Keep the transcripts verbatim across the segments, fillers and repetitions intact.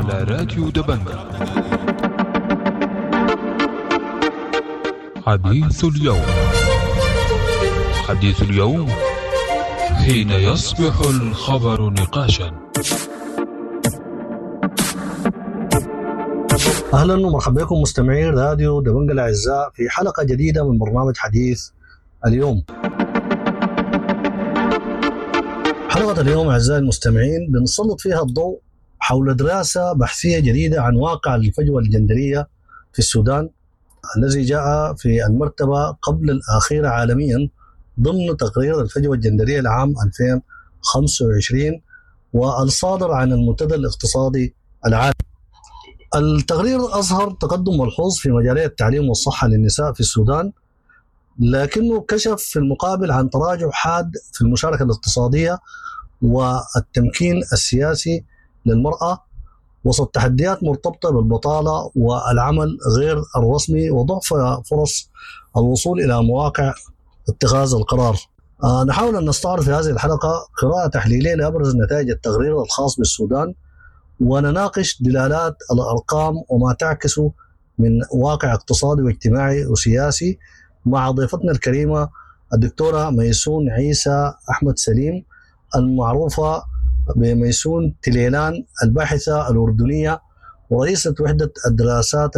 على راديو دبنجة. حديث اليوم، حديث اليوم حين يصبح الخبر نقاشا. اهلا ومرحبا بكم مستمعين راديو دبنجة الاعزاء في حلقة جديدة من برنامج حديث اليوم. حلقة اليوم اعزائي المستمعين بنسلط فيها الضوء حول دراسة بحثيه جديدة عن واقع الفجوة الجندريه في السودان الذي جاء في المرتبة قبل الاخيرة عالميا ضمن تقرير الفجوة الجندريه لعام ألفين وخمسة وعشرين والصادر عن المنتدى الاقتصادي العالمي. التقرير أظهر تقدم ملحوظ في مجالي التعليم والصحة للنساء في السودان، لكنه كشف في المقابل عن تراجع حاد في المشاركة الاقتصادية والتمكين السياسي للمرأة وسط تحديات مرتبطة بالبطالة والعمل غير الرسمي وضعف فرص الوصول إلى مواقع اتخاذ القرار. آه نحاول أن نستعرض في هذه الحلقة قراءة تحليلية لأبرز نتائج التقرير الخاص بالسودان، ونناقش دلالات الأرقام وما تعكسه من واقع اقتصادي واجتماعي وسياسي مع ضيفتنا الكريمة الدكتورة ميسون عيسى أحمد سليم، المعروفة بميسون تليلان، الباحثة الأردنية ورئيسة وحدة الدراسات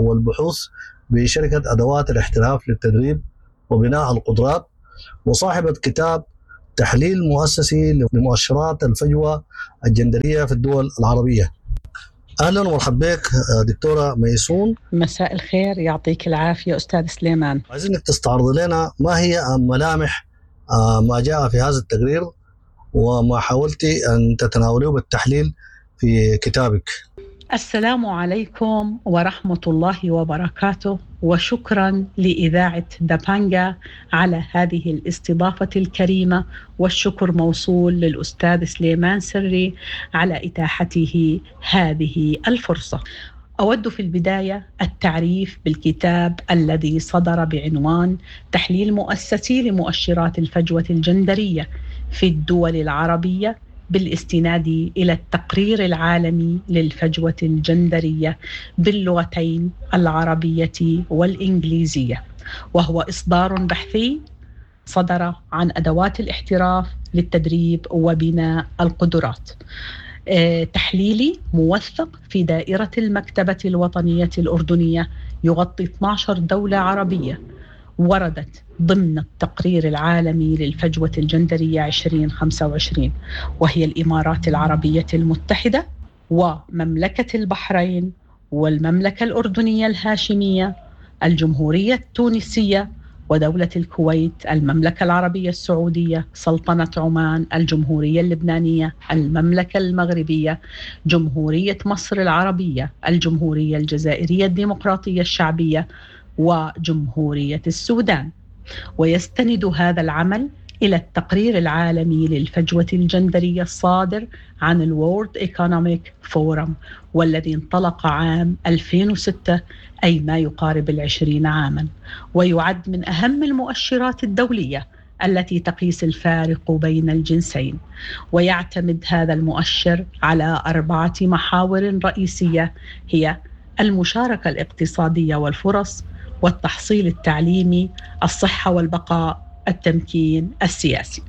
والبحوث بشركة أدوات الاحتراف للتدريب وبناء القدرات، وصاحبة كتاب تحليل مؤسسي لمؤشرات الفجوة الجندرية في الدول العربية. أهلا ومرحبا بك دكتورة ميسون. مساء الخير، يعطيك العافية أستاذ سليمان. عايزينك تستعرض لنا ما هي ملامح ما جاء في هذا التقرير وما حاولتي أن تتناوليه بالتحليل في كتابك. السلام عليكم ورحمة الله وبركاته، وشكرا لإذاعة دبانجا على هذه الاستضافة الكريمة، والشكر موصول للأستاذ سليمان سري على إتاحته هذه الفرصة. أود في البداية التعريف بالكتاب الذي صدر بعنوان تحليل مؤسسي لمؤشرات الفجوة الجندرية في الدول العربية بالاستناد إلى التقرير العالمي للفجوة الجندرية باللغتين العربية والإنجليزية، وهو إصدار بحثي صدر عن أدوات الاحتراف للتدريب وبناء القدرات. تحليلي موثق في دائرة المكتبة الوطنية الأردنية، يغطي اثنتي عشرة دولة عربية وردت ضمن التقرير العالمي للفجوة الجندرية عشرين خمسة وعشرين، وهي الإمارات العربية المتحدة ومملكة البحرين والمملكة الأردنية الهاشمية، الجمهورية التونسية ودولة الكويت، المملكة العربية السعودية، سلطنة عمان، الجمهورية اللبنانية، المملكة المغربية، جمهورية مصر العربية، الجمهورية الجزائرية الديمقراطية الشعبية، وجمهورية السودان. ويستند هذا العمل إلى التقرير العالمي للفجوة الجندرية الصادر عن ال World Economic Forum، والذي انطلق عام ألفين وستة، أي ما يقارب العشرين عاما، ويعد من أهم المؤشرات الدولية التي تقيس الفارق بين الجنسين. ويعتمد هذا المؤشر على أربعة محاور رئيسية، هي المشاركة الاقتصادية والفرص، والتحصيل التعليمي، الصحة والبقاء، التمكين السياسي،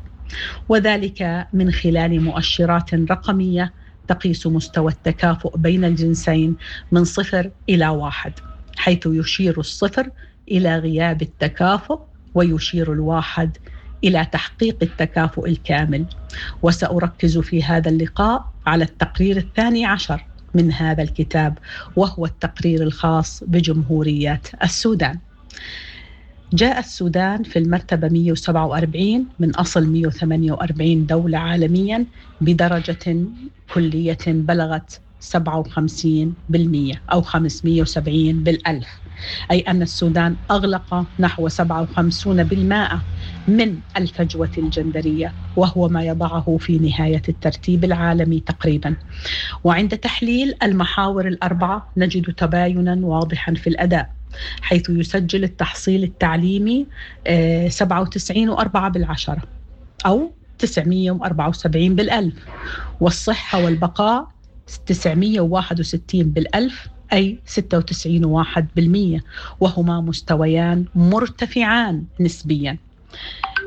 وذلك من خلال مؤشرات رقمية تقيس مستوى التكافؤ بين الجنسين من صفر إلى واحد، حيث يشير الصفر إلى غياب التكافؤ ويشير الواحد إلى تحقيق التكافؤ الكامل. وسأركز في هذا اللقاء على التقرير الثاني عشر من هذا الكتاب، وهو التقرير الخاص بجمهورية السودان. جاء السودان في المرتبة مئة وسبعة وأربعين من أصل مئة وثمانية وأربعين دولة عالميا، بدرجة كلية بلغت سبعة وخمسين بالمئة أو خمسمئة وسبعين بالألف، أي أن السودان أغلق نحو سبعة وخمسين بالمئة من الفجوة الجندرية، وهو ما يضعه في نهاية الترتيب العالمي تقريبا. وعند تحليل المحاور الأربعة نجد تباينا واضحا في الأداء، حيث يسجل التحصيل التعليمي سبعة وتسعين وأربعة بالعشرة أو تسعمئة وأربعة وسبعين بالألف، والصحة والبقاء تسعمية وواحد وستين بالألف أي ستة وتسعين واحد بالمية، وهما مستويان مرتفعان نسبيا.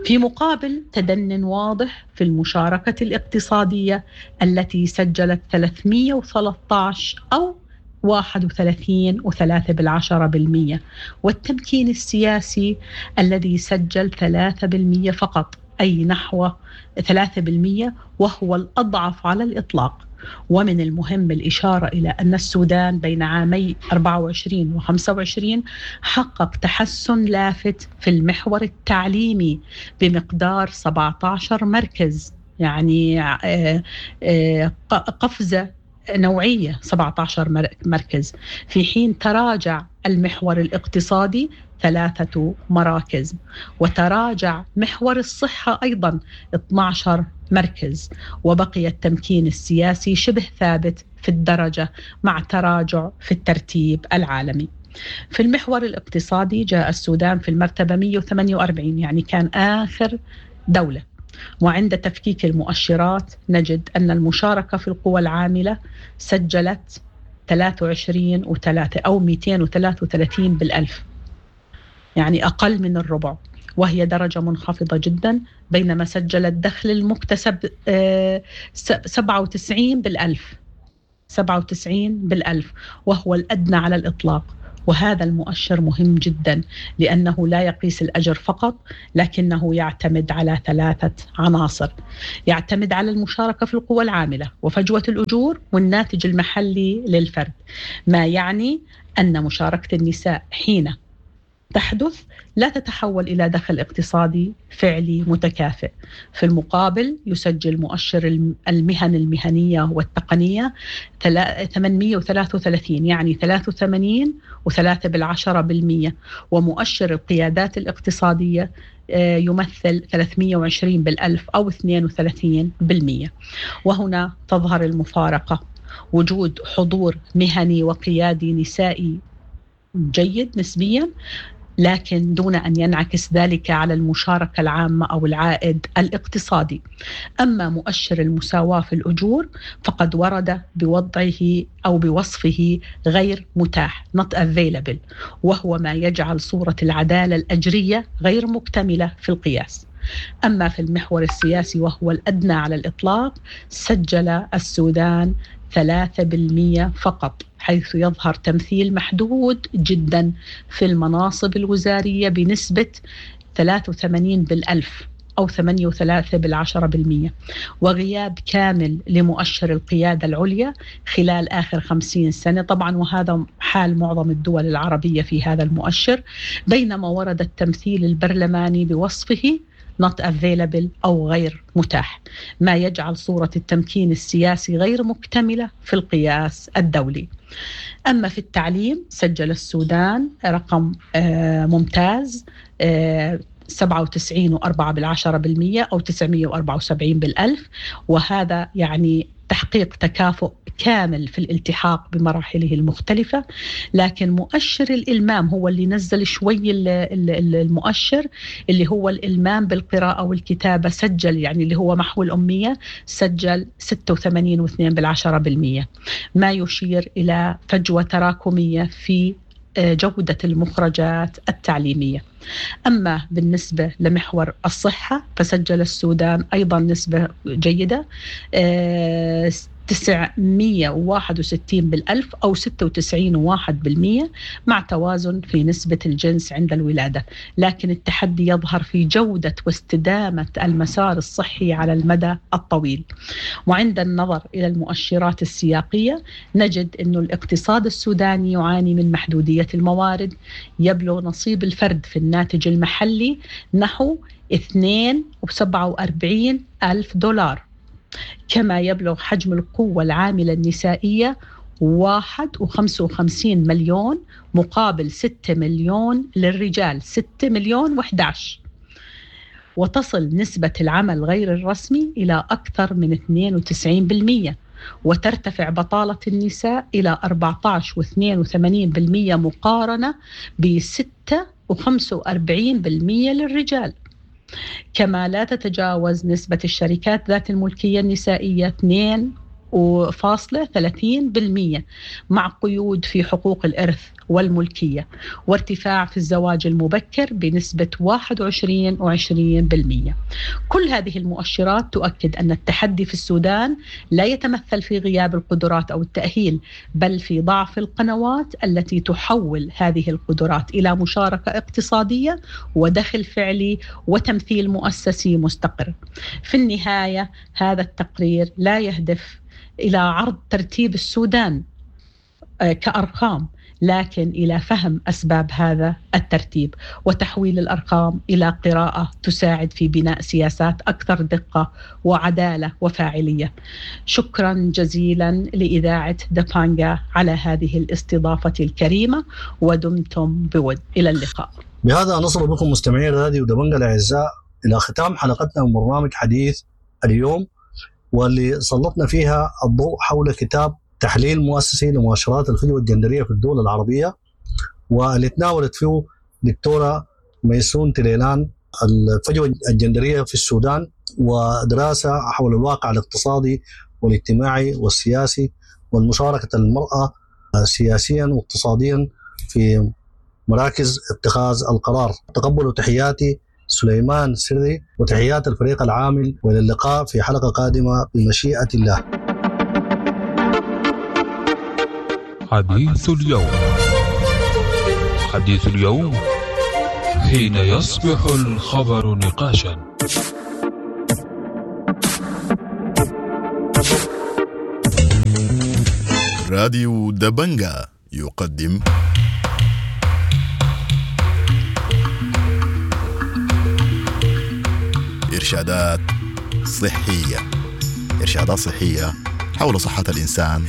في مقابل تدن واضح في المشاركة الاقتصادية التي سجلت ثلاثمية وثلاثة عشر أو واحد وثلاثين وثلاثة بالعشرة بالمية، والتمكين السياسي الذي سجل ثلاثة بالمية فقط أي نحو ثلاثة بالمية، وهو الأضعف على الإطلاق. ومن المهم الإشارة إلى أن السودان بين عامي أربعة وعشرين وخمسة وعشرين حقق تحسن لافت في المحور التعليمي بمقدار سبعة عشر مركز، يعني، آه، آه، قفزة نوعية سبعة عشر مركز، في حين تراجع المحور الاقتصادي ثلاثة مراكز، وتراجع محور الصحة أيضا اثني عشر مركز، وبقي التمكين السياسي شبه ثابت في الدرجة مع تراجع في الترتيب العالمي. في المحور الاقتصادي جاء السودان في المرتبة مية وثمانية وأربعين، يعني كان آخر دولة. وعند تفكيك المؤشرات نجد أن المشاركة في القوى العاملة سجلت ثلاثة وعشرين وثلاثة أو مئتين وثلاثة وثلاثين بالألف، يعني أقل من الربع، وهي درجة منخفضة جدا، بينما سجل الدخل المكتسب، آه، سبعة وتسعين بالألف، سبعة وتسعين بالألف، وهو الأدنى على الإطلاق. وهذا المؤشر مهم جدا لأنه لا يقيس الأجر فقط، لكنه يعتمد على ثلاثة عناصر: يعتمد على المشاركة في القوى العاملة وفجوة الأجور والناتج المحلي للفرد، ما يعني أن مشاركة النساء حين تحدث لا تتحول إلى دخل اقتصادي فعلي متكافئ. في المقابل يسجل مؤشر الم-، المهن المهنية والتقنية ثلا-، ثمانمية وثلاثة وثلاثين، يعني ثلاثة وثمانين وثلاثة بالعشرة بالمية، ومؤشر القيادات الاقتصادية، آه، يمثل ثلاثمية وعشرين بالألف أو اثنين وثلاثين بالمية. وهنا تظهر المفارقة، وجود حضور مهني وقيادي نسائي جيد نسبيا، لكن دون أن ينعكس ذلك على المشاركة العامة أو العائد الاقتصادي. أما مؤشر المساواة في الأجور فقد ورد بوضعه أو بوصفه غير متاح، not available، وهو ما يجعل صورة العدالة الأجرية غير مكتملة في القياس. أما في المحور السياسي وهو الأدنى على الإطلاق، سجل السودان ثلاثة بالمئة فقط، حيث يظهر تمثيل محدود جدا في المناصب الوزارية بنسبة ثلاثة وثمانين بالألف أو ثمانية وثلاثة بالعشرة بالمئة، وغياب كامل لمؤشر القيادة العليا خلال آخر خمسين سنة طبعا، وهذا حال معظم الدول العربية في هذا المؤشر، بينما ورد التمثيل البرلماني بوصفه not available أو غير متاح، ما يجعل صورة التمكين السياسي غير مكتملة في القياس الدولي. أما في التعليم سجل السودان رقم، آه، ممتاز، آه، سبعة وتسعين وأربعة بالعشرة بالمية أو تسعمية وأربعة وسبعين بالألف، وهذا يعني تحقيق تكافؤ كامل في الالتحاق بمراحله المختلفة. لكن مؤشر الإلمام هو اللي نزل شوي ال-، ال-، ال-، المؤشر اللي هو الإلمام بالقراءة والكتابة، سجل يعني اللي هو محو الأمية سجل ستة وثمانين واثنين بالعشرة بالمية، ما يشير إلى فجوة تراكمية في، آه، جودة المخرجات التعليمية. أما بالنسبة لمحور الصحة فسجل السودان أيضا نسبة جيدة، آه، تسعمية وواحد وستين بالألف أو ستة وتسعين وواحد بالمية، مع توازن في نسبة الجنس عند الولادة، لكن التحدي يظهر في جودة واستدامة المسار الصحي على المدى الطويل. وعند النظر إلى المؤشرات السياقية نجد أن الاقتصاد السوداني يعاني من محدودية الموارد، يبلغ نصيب الفرد في الناتج المحلي نحو اثنين وسبعة وأربعين ألف دولار، كما يبلغ حجم القوة العاملة النسائية واحد وخمسة وخمسين مليون مقابل ستة مليون للرجال، ستة مليون وإحداعش، وتصل نسبة العمل غير الرسمي إلى أكثر من اثنين وتسعين بالمية، وترتفع بطالة النساء إلى أربعتاش واثنين وثمانين بالمية مقارنة بستة وخمسة وأربعين بالمية للرجال. كما لا تتجاوز نسبة الشركات ذات الملكية النسائية اثنين وفاصلة ثلاثين بالمية، مع قيود في حقوق الإرث والملكية، وارتفاع في الزواج المبكر بنسبة واحد وعشرين وعشرين بالمية. كل هذه المؤشرات تؤكد أن التحدي في السودان لا يتمثل في غياب القدرات أو التأهيل، بل في ضعف القنوات التي تحول هذه القدرات إلى مشاركة اقتصادية ودخل فعلي وتمثيل مؤسسي مستقر. في النهاية هذا التقرير لا يهدف إلى عرض ترتيب السودان كأرقام، لكن إلى فهم أسباب هذا الترتيب وتحويل الأرقام إلى قراءة تساعد في بناء سياسات أكثر دقة وعدالة وفاعلية. شكرا جزيلا لإذاعة دبانجا على هذه الاستضافة الكريمة، ودمتم بود. إلى اللقاء. بهذا نصل بكم مستمعي راديو دبنجا الأعزاء إلى ختام حلقتنا من برنامج حديث اليوم، واللي سلطنا فيها الضوء حول كتاب تحليل مؤسسي لمؤشرات الفجوة الجندرية في الدول العربية، واللي تناولت فيه دكتورة ميسون تليلان الفجوة الجندرية في السودان، ودراسة حول الواقع الاقتصادي والاجتماعي والسياسي والمشاركة المرأة سياسيا واقتصاديا في مراكز اتخاذ القرار. تقبلوا تحياتي سليمان سري وتحيات الفريق العامل، والى اللقاء في حلقة قادمة بمشيئة الله. حديث اليوم، حديث اليوم حين يصبح الخبر نقاشا. راديو دبنجا يقدم إرشادات صحية، إرشادات صحية حول صحة الإنسان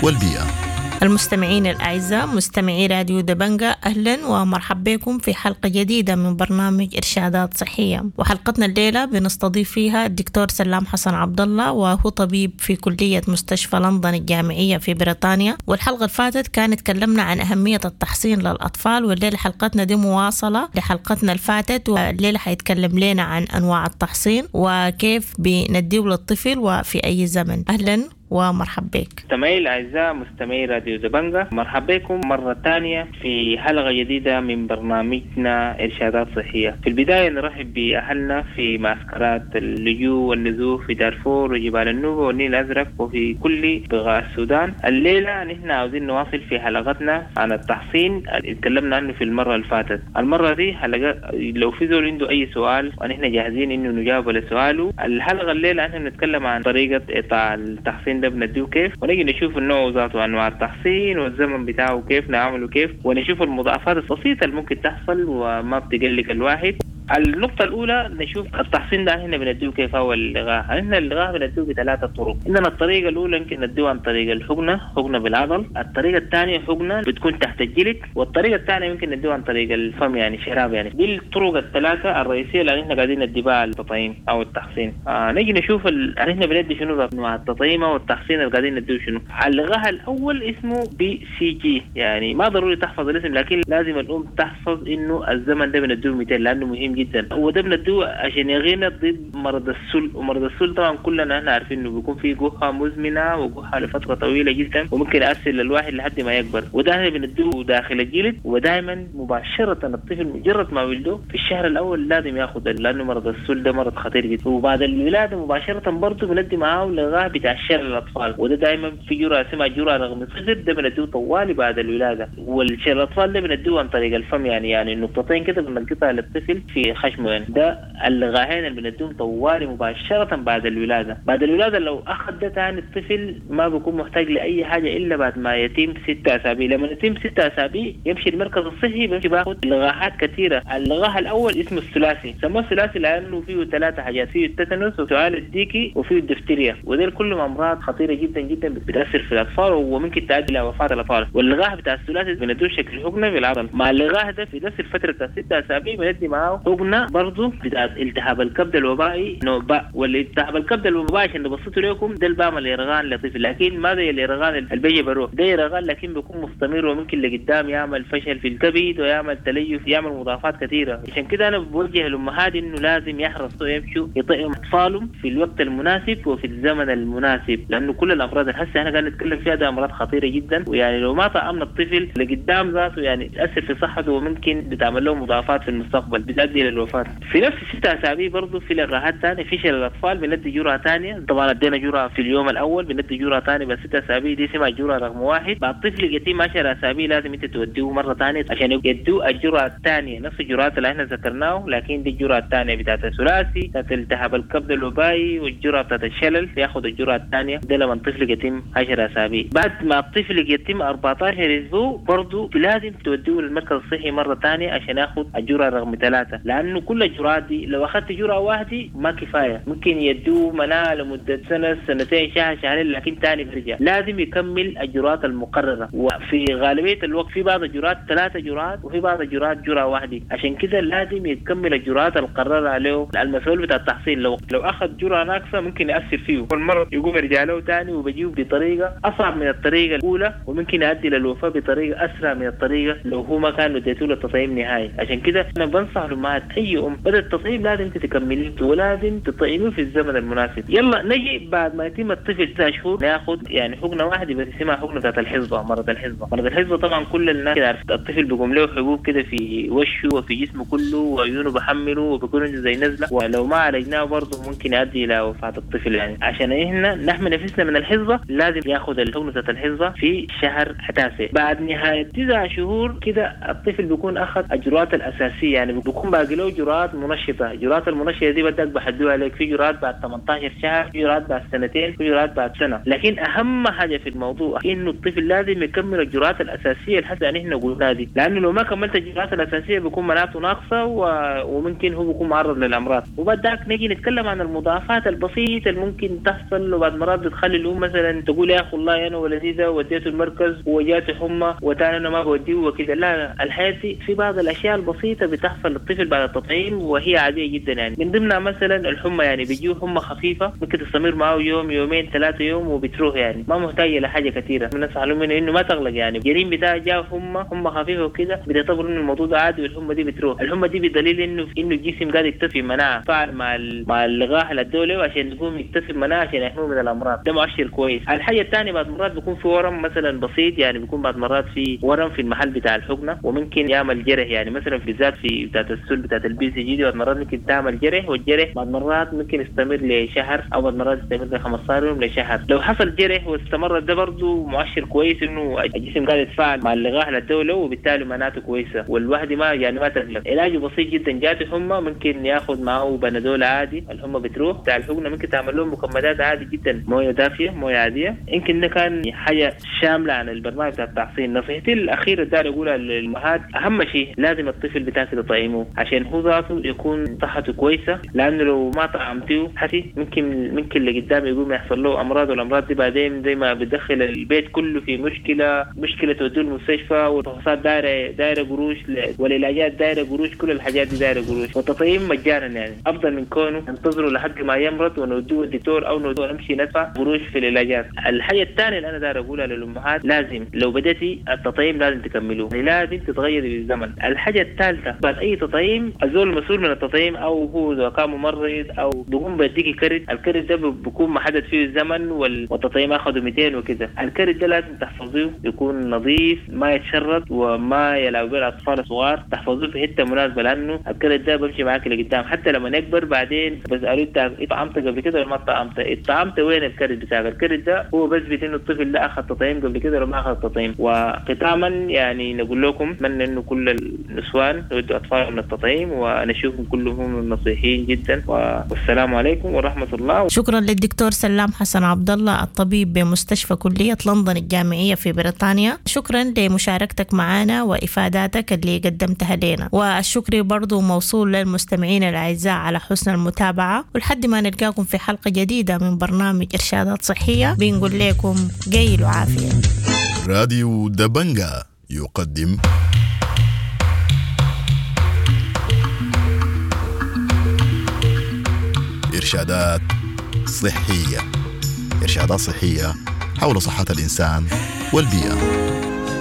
والبيئة. المستمعين الأعزاء مستمعي راديو دبنجا، أهلا ومرحبا بكم في حلقة جديدة من برنامج إرشادات صحية. وحلقتنا الليلة بنستضيف فيها الدكتور سلام حسن عبد الله، وهو طبيب في كلية مستشفى لندن الجامعية في بريطانيا. والحلقة اللي فاتت كانت تكلمنا عن أهمية التحصين للأطفال، والليلة حلقتنا دي مواصلة لحلقتنا اللي فاتت، والليلة حيتكلم لنا عن أنواع التحصين وكيف بنديه للطفل وفي أي زمن. أهلا ومرحب بك. مستمعي الأعزاء مستمعي راديو دبنجا، مرحبا بكم مرة ثانية في حلقة جديدة من برنامجنا إرشادات صحية. في البداية نرحب بأهلنا في معسكرات اللجوء والنزوح في دارفور وجبال النوبة والنيل الأزرق وفي كل بقاع السودان. الليلة نحن عاوزين نواصل في حلقتنا عن التحصين اللي تكلمنا عنه في المرة اللي فاتت. المرة دي حلقة لو في زول عنده أي سؤال ونحن جاهزين إنه نجاوب على سؤاله. الحلقة الليلة نحن بنتكلم عن طريقة إعطاء التحصين ده بنديه كيف، ونجي نشوف النوع ذاته وانواع التحصين والزمن بتاعه كيف نعمله كيف، ونشوف المضاعفات البسيطه اللي ممكن تحصل وما بتقلق الواحد. النقطة الأولى نشوف التحصين ده هنا بنديه كيف هو اللغاح. هنا اللغاح بنديه بثلاثة طرق. عندنا الطريقة الأولى يمكن نديه عن طريق الحقنة، حقنة بالعضل. الطريقة الثانية حقنة بتكون تحت الجلد، والطريقة الثانية يمكن نديه عن طريق الفم يعني شراب يعني. دي الطرق الثلاثة الرئيسية اللي احنا قاعدين ندي بها التطعيم أو التحصين. آه نيجي نشوف ال... احنا بندي شنو مع التطعيم أو التحصين اللي قاعدين نديه شنو. اللغاح الأول اسمه BCG، يعني ما ضروري تحفظ الاسم لكن لازم الأم تحفظ إنه الزمن ده بنديه مئتين لأنه مهم جدا. وده بندوه عشان يغينا ضد مرض السل، ومرض السل طبعا كلنا احنا عارفين انه بيكون فيه جحا مزمنه وجحا لفتره طويله جدا وممكن يأثر للواحد لحد ما يكبر. وده احنا بندوه داخل الجلد، ودائما مباشره الطفل مجرد ما ولده في الشهر الاول لازم ياخذ، لانه مرض السل ده مرض خطير جدا. وبعد الولاده مباشره برضه بندي معاه لغاح بتاع الشلل الاطفال، وده دائما في جرعه اسمها جرعه رقم صفر، ده بندوه طوالي بعد الولاده. والشلل الاطفال ده بندوه عن طريق الفم، يعني يعني نقطتين كده بنلقطها للطفل في خشمه يعني. ده اللغاحين اللي بنديهم طوالي مباشرة بعد الولادة. بعد الولادة لو أخذ ده تاني الطفل ما بيكون محتاج لأي حاجة إلا بعد ما يتم ستة أسابيع. لما يتم ستة أسابيع يمشي المركز الصحي بيمشي باخد لغاحات كثيرة. اللغاح الأول اسمه الثلاثي، سموه الثلاثي لأنه فيه ثلاثة حاجات، فيه التتنس وسعال الديكي وفيه الدفتيريا، وده كلهم أمراض خطيرة جدا جدا بتأثر في الأطفال وممكن تؤدي إلى وفاة الأطفال. واللغاح بتاع الثلاثي بندوه شكل حقنة بالعضل. مع اللغاح ده في نفس الفترة بتاع ستة أسابيع بندي معاه حقنه برضه بتاعت التهاب الكبد الوبائي نوع باء. والالتهاب الكبد الوبائي عشان نبسطه لكم ده البام اليرغان لطفل، لكن ما زي اليرغان اللي بيجي بروح، ده يرغان لكن بيكون مستمر وممكن لقدام يعمل فشل في الكبد ويعمل تليف، يعمل مضاعفات كثيرة. عشان كده انا بوجه الامهات انه لازم يحرصوا يمشوا يطعموا اطفالهم في الوقت المناسب وفي الزمن المناسب، لانه كل الامراض اللي هسه احنا قاعدين نتكلم فيها ده امراض خطيرة جدا، ويعني لو ما طعمنا الطفل لقدام ذاته يعني تاثر في صحته وممكن بتعمل له مضاعفات في المستقبل بتؤدي للوفاه. في نفس الست اسابيع برضه في لقاحات ثانية في شلل الاطفال بندي جرعة ثانية، طبعا ادينا جرعة في اليوم الاول بندي جرعة ثانية بس ست اسابيع دي اسمها جرعة رقم واحد. بعد الطفل يتم عشر اسابيع لازم انت توديه مرة ثانية عشان يدوه الجرعة الثانية، نفس الجرعات اللي احنا ذكرناه لكن دي الجرعة الثانية بتاعت الثلاثي بتاعت التهاب الكبد الوبائي والجرعه بتاعت الشلل، ياخذ الجرعة الثانية ده لما الطفل يتم عشر اسابيع. بعد ما الطفل يتم أربعتاشر اسبوع برضه لازم توديه للمركز الصحي مرة ثانية عشان ياخذ الجرعة رقم ثلاثة، لانه كل الجرعات دي لو اخذت جرعة واحدة ما كفاية، ممكن يدوه مناعة لمدة سنة سنتين شهر شهرين لكن ثاني بيرجع، لازم يكمل الجرعات المقررة. وفي غالبية الوقت في بعض الجرعات ثلاثة جرعات وفي بعض الجرعات جرعة واحدة، عشان كده لازم يكمل الجرعات المقررة عليه المسؤول بتاع التحصيل. لو لو اخذ جرعة ناقصه ممكن ياثر فيه والمرض يقوم يرجع له ثاني وبيجيه بطريقة اصعب من الطريقة الاولى، وممكن يؤدي للوفاه بطريقة اسرع من الطريقة لو هو ما كان اديته له التطعيم نهائي. عشان كده انا بنصح الامهات اي ام بدا التطعيم لازم تكمليه ولازم تطعميه في الزمن المناسب. يلا نجي بعد ما يتم الطفل تسع شهور ناخذ يعني حقنه واحدة بس اسمها حقنه بتاعت الحصبة، مرض الحصبة. مرض الحصبة طبعا كل الناس كده عارف الطفل بيقوم له حبوب كده في وشه وفي جسمه كله وعيونه بحمله وبيكون عنده زي نزله، ولو ما عالجناه برضه ممكن يؤدي الى وفاه الطفل. يعني عشان احنا نحمي نفسنا من الحصبة لازم ياخذ الحقنة بتاعت الحصبة في شهر تاسع. بعد نهاية تسع شهور كده الطفل بيكون اخذ الجرعات الاساسية، يعني بيكون باقي له جرعات منشطه. الجرعات المنشطه دي بدك بحدوها لك في جرعات بعد ثمانية عشر شهر، في جرعات بعد سنتين، في جرعات بعد سنة. لكن اهم حاجة في الموضوع انه الطفل لازم يكمل الجرعات الاساسية اللي حتى احنا قلناها دي، لانه لو ما كملت الجرعات الاساسية بيكون مناعته ناقصه و... وممكن هو بيكون معرض للامراض. وبعد ذاك نجي نتكلم عن المضاعفات البسيطة اللي ممكن تحصل، وبعد مرات بتخلي الام مثلا تقول يا اخي والله انا ولدي ده وديته المركز وجاته حمى وتاني انا ما بوديه وكده. لا، الحياة دي في بعض الاشياء البسيطة بتحصل للطفل بعد التطعيم وهي عادية جدا. يعني من ضمنها مثلا الحمى، يعني بيجيه حمى خفيفة ممكن تستمر معه يوم يومين ثلاثة يوم وبتروح، يعني ما محتاجه لحاجة كثيرة. بننصح لهم انه ما تغلق، يعني الجنين بتاعه جاه حمى حمى خفيفة وكده بتعتبر انه الموضوع ده عادي والحمى دي بتروح. الحمى دي بدليل انه انه الجسم قاعد يكتسب مناعة فعل مع مع اللقاح اللي عشان يقوم يكتسب مناعة عشان يحميه من الامراض، ده مؤشر كويس. الحاجة الثانية بعد مرات بيكون في ورم مثلا بسيط، يعني بيكون بعد مرات في ورم في المحل بتاع الحقنة وممكن يعمل جرح، يعني مثلا بالذات في بتاعت السل بتاعت ال BCG دي بعد مرات ممكن تعمل جرح، والجرح بعد مرات ممكن يستمر لشهر او بعد مرات يستمر ل خمستاشر يوم لشهر. لو حصل جرح واستمر ده برضه مؤشر كويس انه الجسم قاعد يتفاعل مع اللقاح للدولة وبالتالي مناعته كويسة والواحد ما يعني ما تقلق. علاجه بسيط جدا، جاته حمى ممكن ياخذ معه بنادول عادي الحمى بتروح. بتاع الحقنة ممكن تعمل لهم مكمدات عادي جدا، مويه دافيه مويه عادية. يمكن ده كان حاجة شاملة عن البرنامج بتاع التحصين. نصيحتي الاخيرة داير اقولها للامهات، اهم شيء لازم الطفل بتاعك تطعمه عشان هو ذاته يكون صحته كويسة، لانه لو ما طعمتيه حسي ممكن ممكن لقدام يقوم يحصل له امراض، والامراض دي بعدين زي ما بتدخل البيت كله في مشكلة، مشكلة توديه المستشفى والفحوصات دايرة دايرة قروش والعلاجات دايرة قروش، كل الحاجات دي دايرة قروش. والتطعيم مجانا يعني افضل من كونه ننتظره لحد ما يمرض ونوديه الدكتور او نوديه نمشي ندفع قروش في العلاجات. الحاجة الثانية اللي انا داير اقولها للامهات، لازم لو بدأتي التطعيم لازم تكملوه، يعني لازم تتغيري بالزمن. الحاجة الثالثة بعد اي تطعيم الزول المسؤول من التطعيم او هو اذا كان ممرض او بيقوم بيديكي كرت، الكرت ده بيكون محدد فيه الزمن والتطعيم اخذه مئتين وكده. الكرت ده لازم تحفظيه يكون نظيف ما يتشرد وما يلعب به الاطفال الصغار، تحفظوه في حتة مناسبة لانه الكرت ده بمشي معاك لقدام حتى لما يكبر. بعدين بسالوه انت طعمت قبل كده ولا ما طعمت؟ طعمت وين الكرت بتاعك؟ الكرت ده هو بثبت انه الطفل ده اخذ تطعيم قبل كده ولا ما اخذ تطعيم. وختاما يعني نقول لكم اتمنى انه كل النسوان يودوا اطفالهم للتطعيم ونشوفهم كلهم نصيحين جدا، والسلام عليكم ورحمة الله. شكرا للدكتور سلام حسن عبد الله الطبيب بمستشفى كليه لندن الجامعية في بريطانيا، شكرا لمشاركتك معنا وافاداتك اللي قدمتها لنا، والشكر برضو موصول للمستمعين الاعزاء على حسن المتابعة، ولحد ما نلقاكم في حلقة جديدة من برنامج ارشادات صحية بنقول لكم قيل وعافيه. راديو دبنجا يقدم إرشادات صحية. إرشادات صحية حول صحة الإنسان والبيئة.